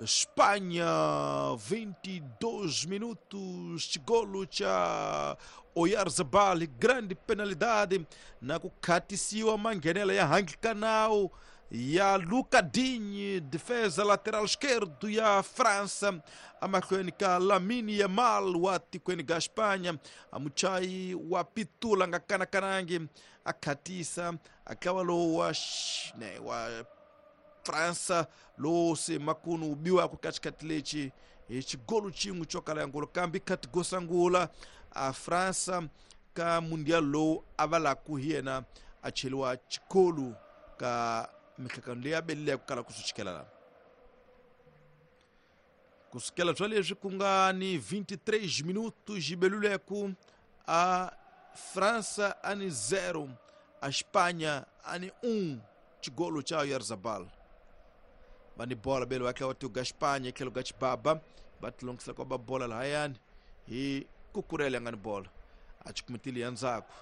Espanha, 22 minutos, xigolo cha Oyarzabal, grande penalidade na ku khatisiwa manghenela ya handle ya Luca Digne, defesa lateral esquerdo ya França, amahlweni ka Lamine Yamal wa tikweni ga Espanha, amuchayi wa pitula nga kanakanangi a khatisa a tlawa lowu wa ne wa França lowu se makunu wu biwaka ka xikhathi lexi hi xigolo xin'we xo kala ya ngolo kambe khati go sungula a França ka mundial lowu a va laku hi yena a cheliwa xikolo ka mihlangano leyi a belile ku kala ku swi chikela la ku sukela bya leswi ku nga ni 23 minutos yi beluleku a França a ni 0 a Espanha a ni 1 xigolo xa Oyarzabal va ni bola bele va tlhela va tuga Espanha tlhelo ka xibaba va tilongisela kwa ba bola lahayani hi kukurela ya nga ni bola a xikumitile ya ndzhaku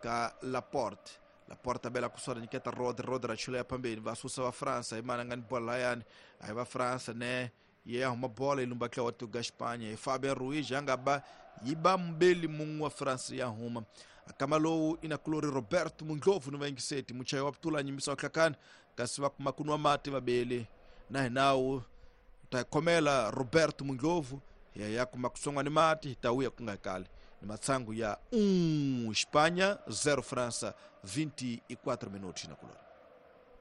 ka Laporte. Laporte bela kuswara nyiketa Rodri, Rodri a chula ya phambeni va susa va França hi mani a nga ni bola lahayani a hi va França ne ye ya huma bola yi lumba tlhela wa tuga Espanha hi Fabian Ruiz a nga ba yi ba mbeli mun'we wa France ya huma akama lowu ina kulori Roberto Mundlovu ni vayingiseti muchayi wa putula nyimbisa wa hlakani kasi va kuma ku nwa mati vabeli na hinawu ta khomela Roberto Mundlovu ya ya kuma ku songwa ni mati hi ta wuya ku nga kali ni matsangu ya 1 Espanha 0 França 24 minutos na kulori.